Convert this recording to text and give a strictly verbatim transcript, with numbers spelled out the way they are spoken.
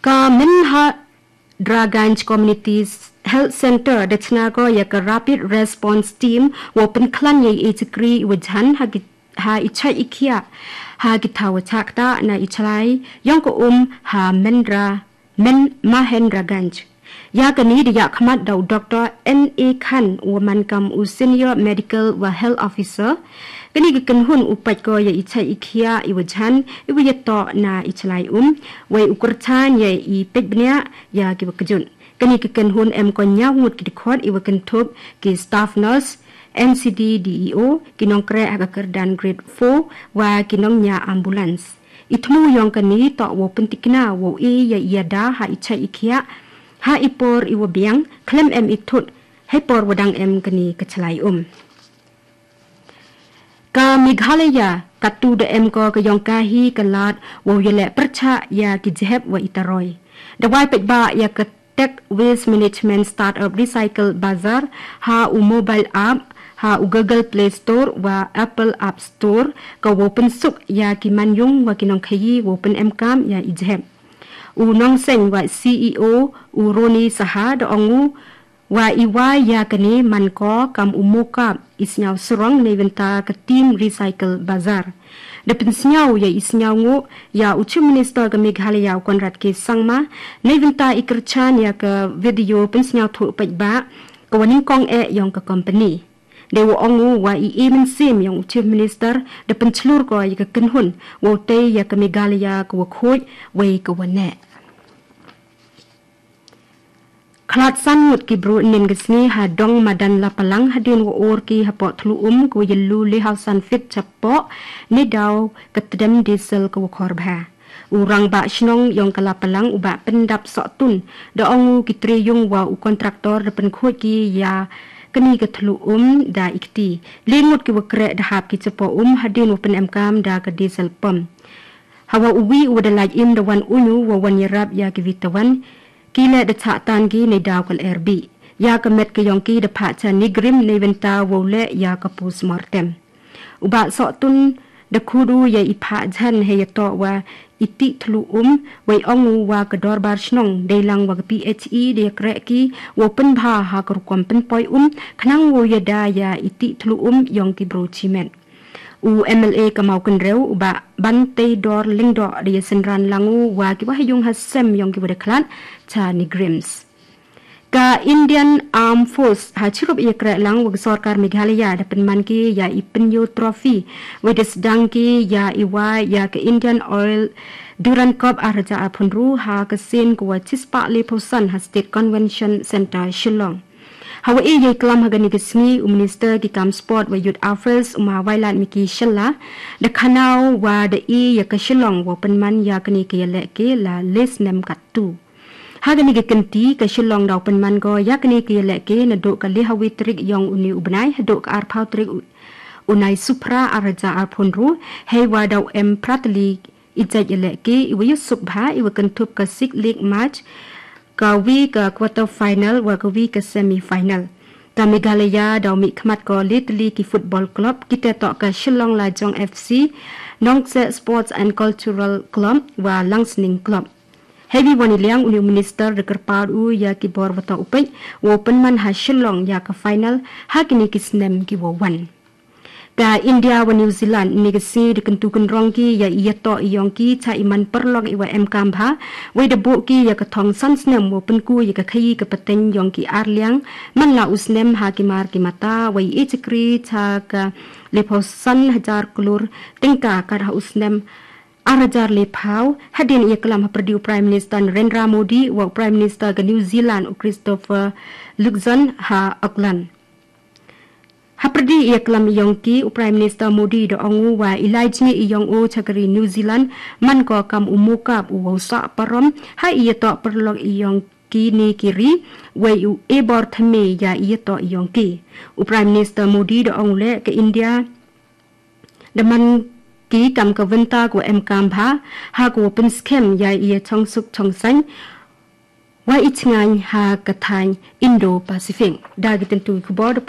Ka Mehmandarganj Community Health Center da chna ko ïa ka Rapid Response Team wow pynkhlaiñ ïa i chakri i wa jhan ha ki, ha i chait i khiah ha ki thaw wa chak ta na i chlai yong ka um ha Mendra, Men Mahendraganj. Ïa kani da ïa khmat da u Doktor N A Khan u wa man kam u Senior Medical wa Health Officer. Kani ka kynhun u pait ko ïa i chait i khiah i wa jhan i wa ïa toh na i chlai um, wei u kyrchan ïa i peit bniah ïa ki wa kjut. Kani ka kynhun em ko ñiaw ngut ki dkhot i wa kynthup ki staff nurse, N C D D E O, ki nongkreh ha ka kyrdan grade four, wa ki nongñiah ambulance. I thmu yong kani toh wow pyntikna wow i ïa i ïada ha i chait i khiah ha i por i wa biang, khlem em i thut hei por wa dang em kani ka chlai um. Ka Meghalaya katu da em ko ka yong ka hi ka lad wow ïa leh pyrchah ïa ki jhep wa i taroi. Da wai peit ba ïa ka Tech Waste Management Startup Recycle Bazaar ha u mobile app, ha u Google Play Store wa Apple App Store, ka wow pynsuk ïa ki manyung wa ki nongkhaïi wow pynemkam ïa i jhep. U nongseng wa C E O u Roni Saha da ong u wa i wai ïa kani man ko kam u mokap i sñiaw srong neibynta ka team Recycle Bazaar. Da pynsñiaw ïa i sñiaw nguh ïa u Chief Minister ka Meghalaya u Conrad K Sangma neibynta i kyrchan ïa ka video pynsñiaw thuh peit ba ka wa nyngkong eh yong ka company. Da wa ong u wa i e mynsiem yong u Chief Minister da pynchlur ko ïa ka kynhun wow tei ïa ka Meghalaya ka wa khuid wei ka wa neh. Khlad san ngut ki bru nin ka sngi ha dong madan Lapalang hadien wa or ki hapoh thlu um ka wa ïallu le haw san fit chapoh ne daw ka tdem diesel ka wa khor bha. U rangbah shnong yong ka Lapalang u Bah Pyndap Sohtun da ong u ki tre yung wa u kontraktor da pynkhuid ki ïa kani ka thlu um da i kti. Le ngut ki wa kreh da hap ki chapoh um hadien wa pynemkam da ka diesel pump. Hawa uwi u wa da lait im da wan uñu wa wan ïarap ïa ki wi tawan, ki leh da chah tan ki ne daw ka lyer bih. Ïa ka met ka yong ki da phah cha NEIGRIHMS neibynta wow leh ïa ka postmortem. U Bah Sohtun da khut u ïa i phah jhan hei ïa toh wa i tih thlu um, wei ong u wa ka dorbar shnong dei lang wa ka P H E da ïa kreh ki wow pynbha ha ka rukom pynpoi um khnang wow ïada ïa i tih thlu um yong ki bru chimet. U M L A ka Mawkynrew u Bah Banteidor Lyngdoh da ïa synran lang u wa ki wa ha yung ha sem yong ki wa da khlad cha NEIGRIHMS. Ka Indian Armed Force ha chirup ïa kreh lang wa ka sorkar Meghalaya da pynman ki ïa i Pynïoo Trophy, wei da sdang ki ïa i wa ïa ka Indian Oil Durand Cup ar hajar arphew hynriew ha ka sien ka wa chispah lephew san ha State Convention Centre Shillong. Hawa e ïa i klam ha kani ka sngi u Minister ki kam sport wa youth affairs u Ma Wailadmiki Shylla da khana u wa da e ïa ka Shillong wow pynman ïa kani ka ïalehke la le snem katto. Ha kani ka kynti ka Shillong daw pynman ko ïa kani ka ïalehke naduh ka le hawi tarik yong uni u bnai haduh ka arphew tarik u, u Naisuphra ar hajar arphew hynriew, hei wa daw em phra tylli i jait ïalehke i wa ïasuk bha i wa kynthup ka Six League Match, ka wi ka quarter final wa ka wi ka semi final. Ka Meghalaya daw mih khmat ko le tylli ki football club, ki te toh ka Shillong Lajong F C, Nongkseh Sports and Cultural Club wa Langsning Club. Hei wi wan i liang uni u Minister da kyrpad u ïa ki bor wa toh u peit wow pynman ha Shillong ïa ka final ha kini ki snem ki wow wan. Ka India wa New Zealand ni ka sngi da kyntu kynrong ki ïa i ïa toh i yong ki cha i man paralok i wa em kam bha, wei da buh ki ïa ka thong san snem wow pynku ïa ka khaïi ka pateng yong ki ar liang man la u snem ha ki mar ki mata, wei i chakri cha ka lephew san hajar klur tyngka kat ha u snem ar hajar lephew, hadien ïa klam ha pyrdi u Prime Minister Narendra Modi wa u Prime Minister ka New Zealand u Christopher Luxon ha Auckland. Ha pyrdi ïa klam i yong ki u Prime Minister Modi da ong u wa i lai jngi i yong u cha ka ri New Zealand man ko kam u mokap u wow sah parom ha i ïa toh paralok i yong ki ni ki ri, wei u e bor thymme ïa i ïa toh i yong ki. U Prime Minister Modi da ong u leh ka India da man ki kam ka wynta ka wa em kam bha ha ka wa pynskhem ïa i ïa chong suk chong saiñ wa i chngaiñ ha ka thaiñ Indo-Pacific. Da ki tyntu ki khubor da